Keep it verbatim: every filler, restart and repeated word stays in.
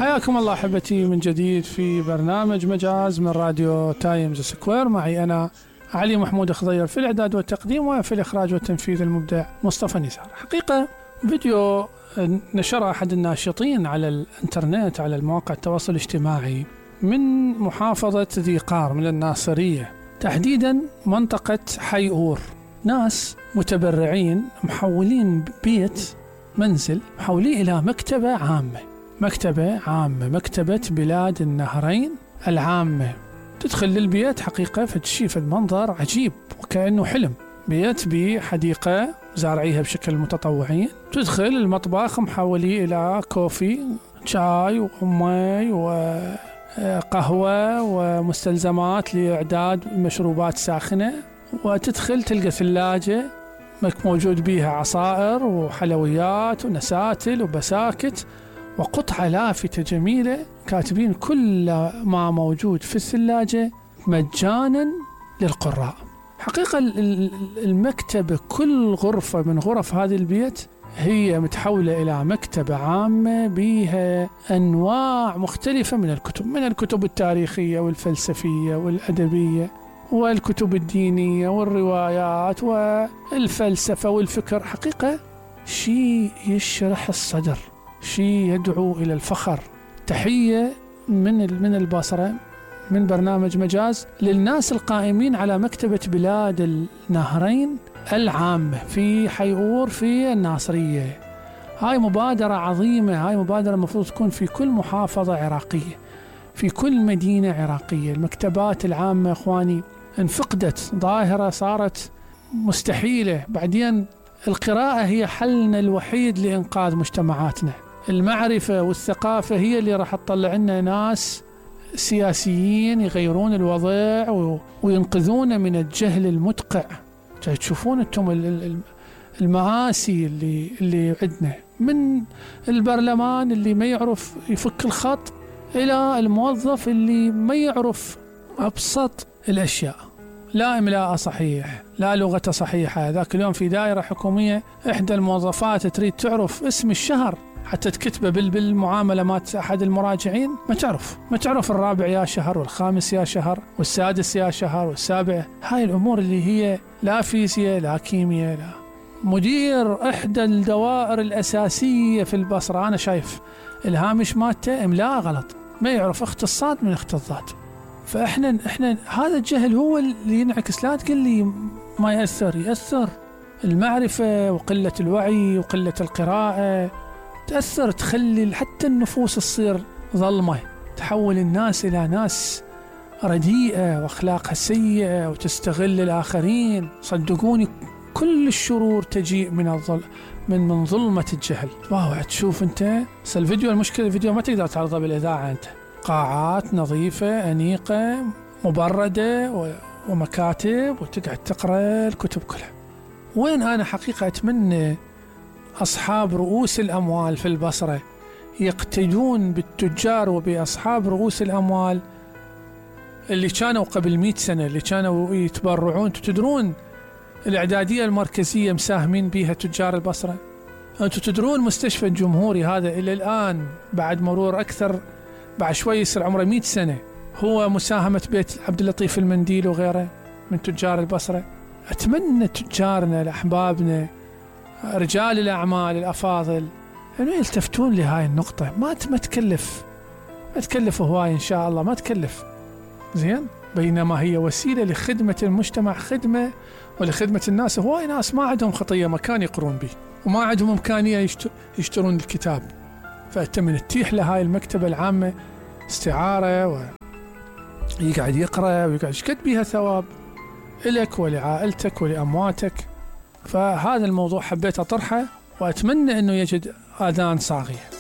حياكم الله أحبتي من جديد في برنامج مجاز من راديو تايمز سكوير. معي أنا علي محمود خضير في الإعداد والتقديم، وفي الإخراج والتنفيذ المبدع مصطفى نزار. حقيقة فيديو نشره أحد الناشطين على الإنترنت على المواقع التواصل الاجتماعي من محافظة ذي قار من الناصرية، تحديدا منطقة حي أور. ناس متبرعين محولين بيت منزل محوليه إلى مكتبة عامة، مكتبة عامة مكتبة بلاد النهرين العامة. تدخل للبيت حقيقة فتشوف المنظر عجيب وكأنه حلم. بيت بحديقة زارعيها بشكل متطوعين، تدخل المطبخ محوليه إلى كوفي، شاي ومي وقهوة ومستلزمات لإعداد مشروبات ساخنة، وتدخل تلقى ثلاجة موجود بيها عصائر وحلويات ونساتل وبساكت وقطعة لافتة جميلة كاتبين كل ما موجود في الثلاجة مجانا للقراء. حقيقة المكتبة كل غرفة من غرف هذا البيت هي متحولة إلى مكتبة عامة بها أنواع مختلفة من الكتب، من الكتب التاريخية والفلسفية والأدبية والكتب الدينية والروايات والفلسفة والفكر. حقيقة شيء يشرح الصدر، شيء يدعو إلى الفخر. تحية من من البصرة من برنامج مجاز للناس القائمين على مكتبة بلاد النهرين العامة في حي أور في الناصرية. هاي مبادرة عظيمة، هاي مبادرة المفروض تكون في كل محافظة عراقية، في كل مدينة عراقية. المكتبات العامة إخواني انفقدت، ظاهرة صارت مستحيلة. بعدين القراءة هي حلنا الوحيد لإنقاذ مجتمعاتنا. المعرفة والثقافة هي اللي راح تطلع لنا ناس سياسيين يغيرون الوضع وينقذون من الجهل المدقع. تشوفون انتم المآسي اللي اللي عندنا، من البرلمان اللي ما يعرف يفك الخط إلى الموظف اللي ما يعرف أبسط الأشياء، لا إملاء صحيح، لا لغة صحيحة. ذاك اليوم في دائرة حكومية إحدى الموظفات تريد تعرف اسم الشهر حتى تكتبه بالمعاملة مات أحد المراجعين، ما تعرف ما تعرف الرابع يا شهر والخامس يا شهر والسادس يا شهر والسابع. هاي الأمور اللي هي لا فيزياء لا كيمياء لا. مدير إحدى الدوائر الأساسية في البصرة أنا شايف الهامش مالته إملاء غلط، ما يعرف اخت الصاد من اخت الضاد. فإحنا إحنا هذا الجهل هو اللي ينعكس. لا تقول لي ما يأثر، يأثر. المعرفة وقلة الوعي وقلة القراءة تأثر، تخلي حتى النفوس تصير ظلمة، تحول الناس إلى ناس رديئة وأخلاقها سيئة وتستغل الآخرين. صدقوني كل الشرور تجيء من الظل من من ظلمة الجهل. واو، تشوف أنت الفيديو، المشكلة الفيديو ما تقدر تعرضه بالإذاعة، أنت قاعات نظيفة أنيقة مبردة ومكاتب وتقعد تقرأ الكتب كلها. وين أنا حقيقة أتمنى أصحاب رؤوس الأموال في البصرة يقتدون بالتجار وبأصحاب رؤوس الأموال اللي كانوا قبل مئة سنة، اللي كانوا يتبرعون. تدرون الإعدادية المركزية مساهمين بها تجار البصرة؟ أنتم تدرون مستشفى الجمهوري هذا إلى الآن بعد مرور أكثر، بعد شوي يصير عمره مئة سنة، هو مساهمة بيت عبد اللطيف المنديل وغيره من تجار البصرة. أتمنى تجارنا الأحبابنا رجال الأعمال الأفاضل أنه يلتفتون لهاي النقطة. ما ما تكلف ما تكلف هواي إن شاء الله، ما تكلف زين، بينما هي وسيلة لخدمة المجتمع، خدمة ولخدمة الناس. هواي ناس ما عندهم خطية مكان يقرون به وما عندهم إمكانية يشترون الكتاب، فأتمنى تتيح لهاي المكتبة العامة استعارة ويقعد يقرأ ويقعد يشكد بها ثواب إلك ولعائلتك ولأمواتك. فهذا الموضوع حبيت أطرحه وأتمنى أنه يجد آذان صاغية.